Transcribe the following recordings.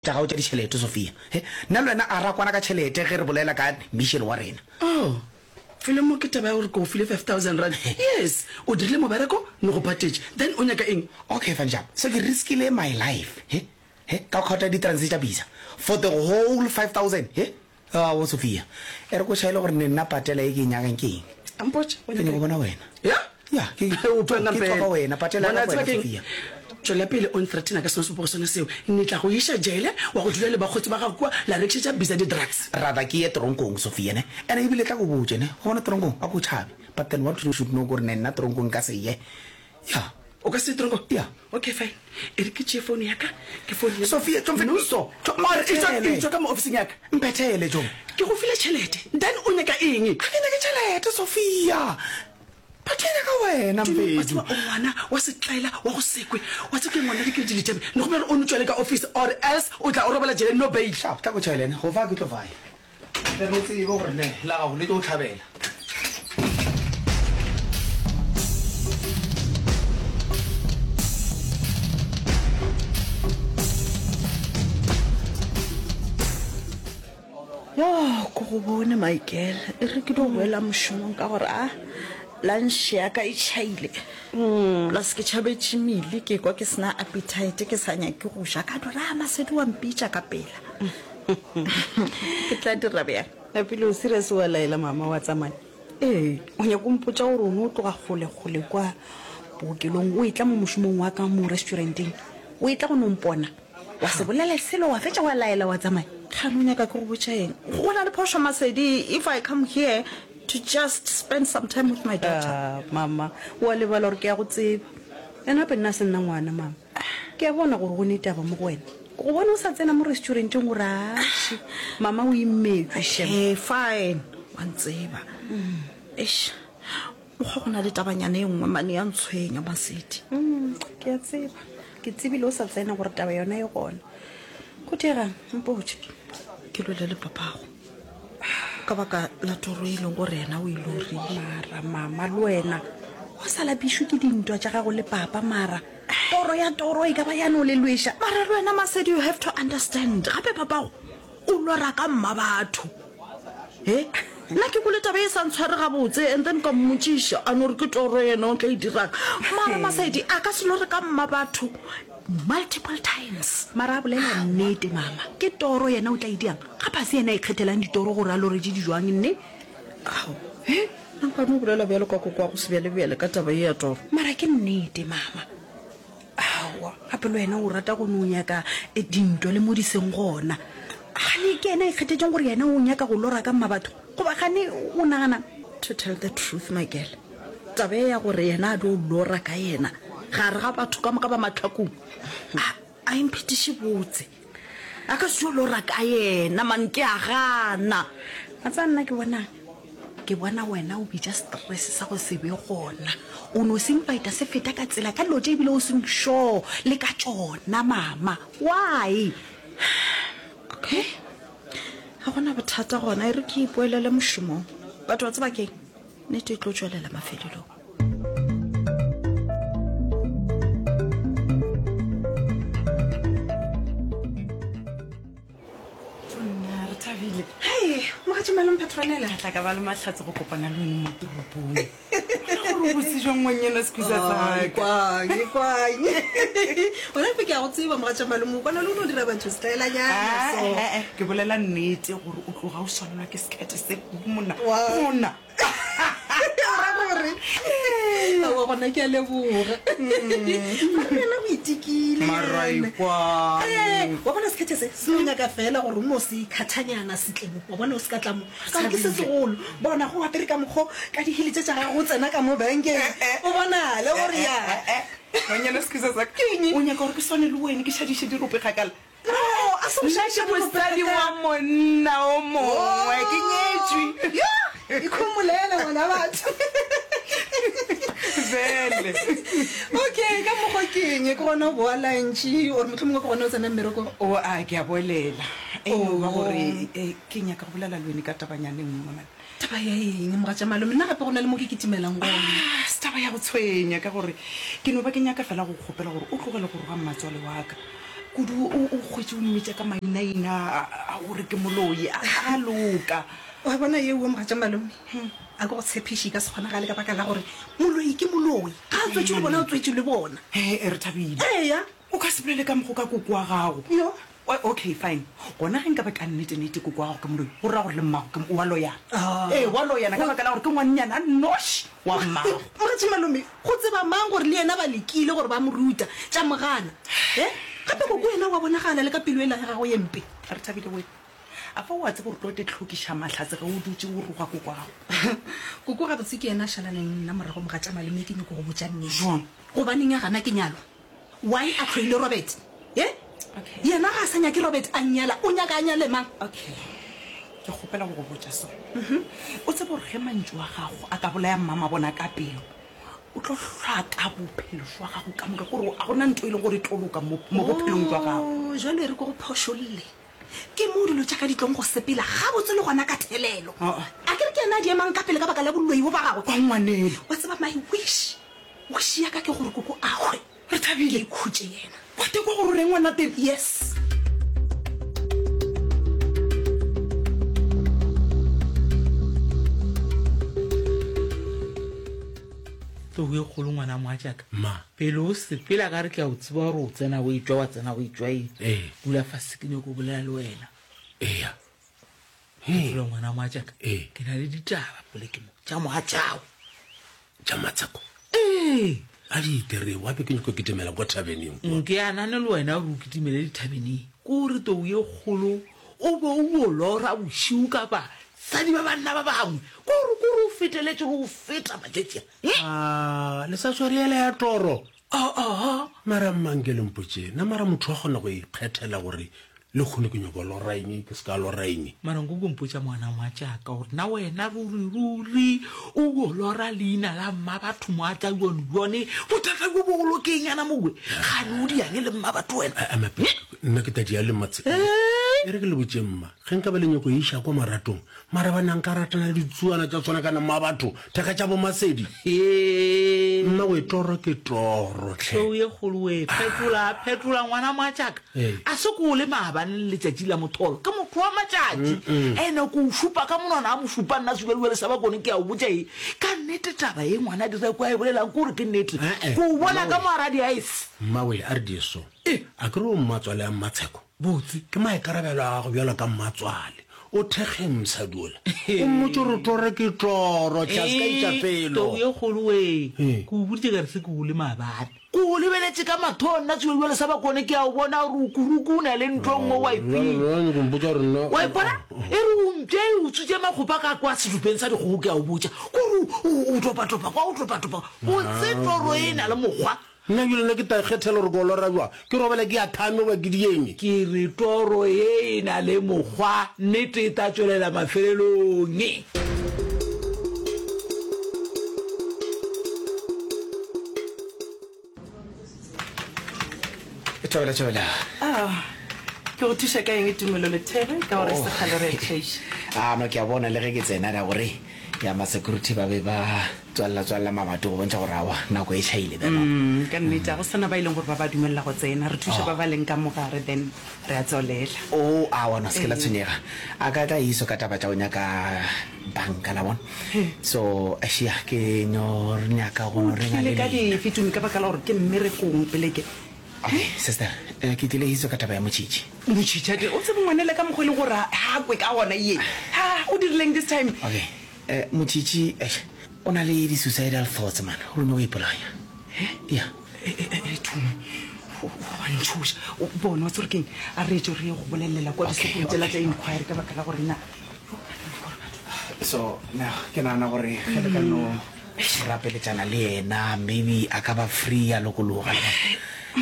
Tša gago tša ditšhelete, Sophia. He, nna le wena a ra kwana ka tšhelete ge re bolela ka mission wa rena. Oh, felo mo ke taba ya gore ke go file 5000 rand. Yes, o dirile mobereko, ne go patetše. Then o nyaka eng? Okay, fine, sharp. So ke riskile my life, he, he, ka go kgaotla di-transe tša bisa for the whole 5000, he? Aowa, Sophia, e re ko tšhaele gore ne nna patela ye ke e nyakang ke eng. A mpotše, o Ke nyaka nyaka go eng? bona wena. Ya? Ya, ke, O tlo ke eng tswa ka wena, patela Bona, ya ka tseba wena, ke eng? Sophia. Tšwela pele o nthreatena ka sona sebopego sona seo. Ne tla go iša jele, wa go dula le bakgotsi ba gago kua, la rekišetša bisa di-drugs. Rather ke ye toronkong, Sophia, ne? Ene ebile tla ko botše, ne? Go bona toronkong, a ko tšhabe. But then what you should know ke gore ne nna toronkong nka se ye. Ya. O ka se ye toronkong? Ya. Okay, fine. E re ke tšee founu ya ka, ke founele. Sophia, tšo mfe-. No so. Tšo Or etšwa, mphethele. etšwa ka mo ofising ya ka. Mphethele, tšo. Ke go file tšhelete, then o nyaka eng? Ga ke nyake tšhelete, Sophia. But ke nyaka wena, Tumi, wa Mfedu. tseba o ngwana wa setlaela wa go sekwe. Wa tseba ke ngwana dikete di tšabe. Ne go bjalo o no tšwele ka office or else o tla o robala jele no bail. Sharp, tla ko tšhaele ne. Go fa ke tlo faya. Tle re tsebe gore ne la gago le tlo thabela. Yo, ko go bone Michael, e re ke dio boela mošomong ka gore a lunch ya ka e tšhaile. Plus ke tšhabetše mealy ke kwa ke sena appetite ke sa nyake go ja ka no re a Masedi wa mpitša ka pela. Ke tla dira bjang? Napile o serious wa laela mama wa tsamaya? Ee. O nyaka go mpotša gore o no tloga kgole kgole kwa bookelong o etla mo mošomong wa ka mo restauranteng o etla go no mpona? Wa se bolele selo, wa fetša wa laela wa tsamaya. Kgane o nyaka ke go botša eng? Go na le phošo Masedi, if I come here to just spend some time with my daughter. Ah, mama, o a lebala gore ke a go tseba. And gape nna se nna ngwana, mama. Ke a bona gore go ne taba mo go wena. Ke go bona o sa tsena mo restauranteng gore atšhe, mama o imetšwe, shem. Okay, fine, wa ntseba. Eish. Mokgwa go na le tabanyana e nngwe mane ya ntshwenya, Masedi. Mm, ke a tseba. Ke tsebile o sa tsena gore taba yona e gona. Go diegang? Mpotše. Ke lwele le papago ka baka la toro e leng gore yena o e lorile. Mara mama, le wena o sa lapišwe ke dintwa tša gago le papa, mara toro ya toro e ka ba ya no le lweša. Mara le wena Masedi, you have to understand. Gape papago O lora ka mma batho. He? Nna ke kwele taba e sa ntshware gabotse and then ka mmotšiša a no re ke toro yena o tla e dirang. Mara Masedi a ka se lore ka mma batho multiple times. Mara a bolela nnete mama, ke toro yena o tla e diang? Gape a se yena a ikgethelang ditoro gore a lore tše di jwang nne? Ao, he? Nna nka no bolela bjalo ka koko wa go sebjalebjale ka taba ye ya toro. Mara ke nnete mama. Aowa, gape le wena o rata go no nyaka dintwa le mo di seng gona. Gane ke yena a ikgethetšeng gore yena o nyaka go lora ka mmabatho? Goba gane o nagana'ng? To tell the truth my girl, taba ye ya gore yena a dio lora ka yena gare ga batho ka moka ba mahlakong, a, a e mphetiše botse. A ka se dio lora ka yena man, ke a gana. Wa tseba nna ke bona'ng? Ke bona wena o bitša stress sa go se be gona. O no se invita se feta ka tsela ka dilo tše ebile o seng sure le ka tšona mama. Why? Okay. Ga gona bothata gona, e re ke ipoelele mošomong. But wa tseba ke'ng? Nnete e tlo tšwelela mafelelong. Nna re thabile. Hei, mogatša malome Petronella. Ka tla ka ba le mahlatse go kopana le wena mo toropong. Gore o botse jwang ngwannyana sekusa sa ka. Kwang, kwang. Gona gape ke a go tseba mogatša malome, o kwana le o no dira batho setlaelanyana Ah, so. eh, eh, ke bolela nnete gore o tloga o swanelwa ke sekete se kudu monna. Wa. Monna. O ra gore aowa gona ke a leboga. Mara le yena o itekile. Mara ekwang. Eh, wa bona sekhethe se se no nyaka fela gore o no se ikhathanyana setle mo. Wa bona o se ka tla mo. Ka gore ke se segolo. Bona go apere ka mokgo ka dihili tše tša gago o tsena ka mo bankeng. O bonale gore ya. Ngwanyana sekusa sa ka. Ke eng? O nyaka gore ke swane le wene ke šadiše dirope kgakala. No, a se go Nna šadiša ke dirope mosadi wa kgakala. monna o mongwe, ke nyetšwe. Ya, ikhomolela ngwana batho. Bjale. Okay, ka mokgwa ke eng? Ke gona o boa lunch or mohlomongwe ke gona o tsena mmerekong? O a, ke a boelela. E no ba gore eh, ke nyaka go bolela le wene ka tabanyana e nngwe man. Taba ya eng, mogatša malome? Nna gape go na le mo ke kitimelang gona. Ah, se taba ya go tshwenya ka gore ke no ba ke nyaka fela go kgopela gore o tlogele go roga mmatswale wa ka. Kudu o o hwetše o mmitša ka mainaina a gore ke moloi. A a loka. Wa bona yeo mogatša malome, a ke go tshepiše e ka se kgonagale ka baka la gore moloi ke moloi. Ga a tswetšwe le bona o tswetšwe le bona. He, re thabile. Eya. O ka se bolele ka mokgo ka koko wa gago. Yo. Okay, fine. Gona ge nka be ka nnete-nnete koko wa gago ke moloi, go ra gore le mmago ke, wa loyana. Ee, wa loyana ka baka la gore ke ngwannyana a nnoši wa mmago. Mogatša malome, go tseba mang gore le yena ba lekile gore ba mo ruta tša mo gana? He? Gape koko yena wa bonagala le ka pelo yela ya gagwe ye mpe. Re thabile wee. A fa o a tseba gore tlo te hlokiša mahlatse ge o dutše o roga koko wa gago? Koko gabotse ke yena a šalaneng le nna morago mogatša malome, ke nyoko go botša nnete. Jwang? Gobaneng a gana ke nyalwa? Why a hloile Robert? He? Okay. Yena ga a sa nyake Robert a nnyala, o nyaka a nyale mang? Okay. Ke kgopela go go botša so. O tsebe gore ge mantšu a gago a ka bolaya mmamabona ka pelo, o tlo hlaka bophelo jwa gago ka moka, gore ga gona ntho e leng gore e tlo loka mo, mo bophelong jwa gago. Oh, jwale e re ke go phošolle. Ke moo dilo tša ka di tlong go sepela gabotse le gona ka thelelo. Ah. A ke re ke yena a di emang ka pele ka baka la boloi bo ba gagwe? Kwa ngwanelo. Wa tseba my wish, wish ya ka ke gore koko a hwe. Re thabile. Ke ikhutše yena. Wa tekwa gore o reng ngwana teng? Yes. Tou e kgolo ngwana mogatšaka. Ma. Pele o sepela ka re ke a o tseba gore o tsena o etšwa wa tsena o etšwa e. Ee. Dula fase ke nyako bolela le wena. Eya. Dula ngwana mogatšaka. Ee. Ke na le ditaba poleke mo tša mogatšago. Tša Matsheko. Ee. A di itere wape ke nyako kitimela kwa thabeneng kwa. Nke a nane le wena gore o kitimele dithabeneng. Ke gore tou ye kgolo o be o o lora bošiu ka basadi ba banna ba bangwe. Ke gore ke gore o feteletše le go feta matšatši a. A le sa swere yela ya toro? Aa. Mara mma nke le mpotše, na mara motho wa kgona go ikgethela gore lehono ke nyoko lora eng, ke se ka lora eng? Mara nko ko mpotša ngwana mogatšaka gore na wena ruri ruri o yo lora leina la mmabatho mogatša yone yone bothata bjo bogolo ke eng yana mowe? Gane o diang le mmabatho wena? A, a, nna ke tadi ya le matse. E re ke le botše mma, ge nka ba le nyoko iša kwa maratong, Mara ba na nka ratana le ditsuana tša tshwana kana mmabatho, thaka tša bomasedi. Mmawe toro ke toro hle. Tou ye kgolo we, phetola, phetola ngwana mogatšaka. A se ko o le maabane le letšatši la motholo, ke motho wa matšatši. Ene ko o šupa ka monwana a mo šupa nna sebjalebjale sa bakone ke a o botša e. Ka nnete taba ye ngwana Direko a e bolelang ke gore ke nnete. Ko o bona ka mo gara di-ice. Mmawe a re die so. A ke re o mmatswale a Mmatsheko? Botse. Ke maikarabelo a gago bjalo ka mmatswale. O thekge mosadi ola. O mmotše gore toro ke toro, hle a se ka itša felo. Tou ye kgolo wee. Ke o boditše ka re se ke o le maabane. Ke o lebeletše ka matho nna sebjalebjale sa bakone ke a o bona gore o kuruku o na le ntho e nngwe wa e feel. Wa ipona? E re o mpše e utswitše makgopa ka kwa sedupeng sa dikgogo ke a o botša. Kore o topatopa kwa o topatopa. Botse toro e na le mokgwa. Nna bjale nna ke tla ikgethela gore ke o lora bjang, ke robale ke athame goba ke dieng. Ke re toro ye e na le mokgwa, nnete e tla tšwelela mafelelong. Thobela, thobela. Ah, ke go thuša ka eng Tumelo Lethebe ka gore se kgale re tšheiša. Ah, no ke a bona le ge ke tsena ra gore ya ma security ba be ba Tswalela, tswalela mabati go bontšha gore aowa, nako e tšhaile bjalo. Umm, ka nnete, ga go sa na ba e leng gore ba ba dumelela go tsena. Re thuša ba ba leng ka mo gare, then re a tswalela. Oh, aowa, no, se ke la tshwenyega. A ka tla iso ka taba tša go nyaka banka, la bona. So, eish, ya, ke no nyaka go no O renga tlile le ka lena. dife, Tumi, ka baka la gore ke mmerekong pele ke. Okay, sister, eh, ke tlile iso ka taba ya motšhitšhi. Motšhitšhi, a ke, o tsebe ngwanela ka mokgwa e leng gore ha a kwe ka gona ye. Ha, o dirileng this time? Okay. Eh, Motšhitšhi, eish, o na le di-suicidal thoughts man, o nyoko ipolaya. He? Ya. Eh, eh, eh, Tumi, o wa ntšhoša. O bone, wa tseba gore keng? A re tšo re ye go bolelela kwa Okay, disopong tšela okay. tša inquiry ka baka la gore na. So, now, ke nagana gore ge le ka no rapeletšana le yena, maybe a ka ba free a lokologa.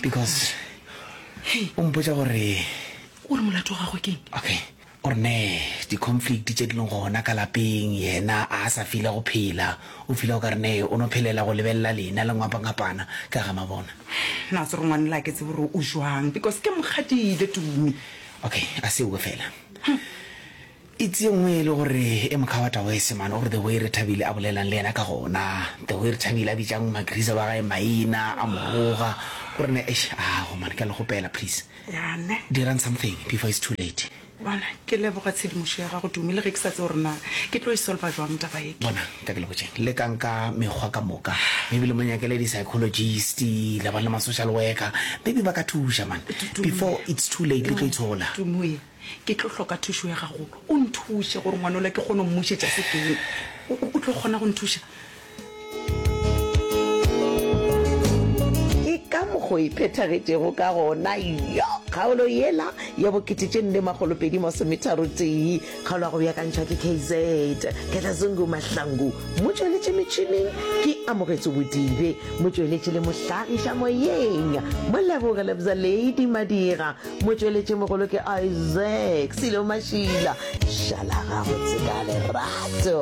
Because o mpotša gore. O re molato wa gagwe keng? Okay. O re nee di-conflict tše di leng gona ka lapeng, yena a sa fila go phela, o fila o ka re nee o no phelela go lebelela lena le ngwapangapana ka ga mabona. Na se re ngwanela ke tsebe gore o jwang because ke mo kgadile Tumi. Okay, a se owe fela. Itse ye nngwe e le gore e mokhawata wese man, o re the way Rethabile a bolelang le yena ka gona, the way Rethabile a bitšang Magrisa wa gae maina, a mo roga. Gore ne eish ago man ke a le gopela please. Ya ne. Dirang something before it's too late. Bona, ke leboga tshedimošo ya gago Tumi, le ge ke sa tsebe gore na ke tlo e solva jwang taba ye. Bona, nka ke le botšeng, lekang ka mekgwa ka moka, maybe le mo nyakele di-psychologist, la ba le ma-social worker, maybe ba ka thuša man, before it's too late le tlo itshola. Tumi, ke tlo hloka thušo ya gago, o nthuše gore ngwanola ke kgone go mmušetša sekeng. O, o tlo kgona go nthuša? Ke ka mokgo e phethagetšego ka gona. Yo! Kgaolo yela ya bokete tše nne makgolo pedi masometharo tee, kgaolo ya go beakantšhwa ke KZ Ketlazungu Mahlangu, motšweletši metšhineng ke Amogetso Bodibe, motšweletši le mohlagiša moyeng Moleboge Lebza Lady Madira, motšweletši mogolo ke Isaac Silo Mašila. Šala gabotse ka lerato.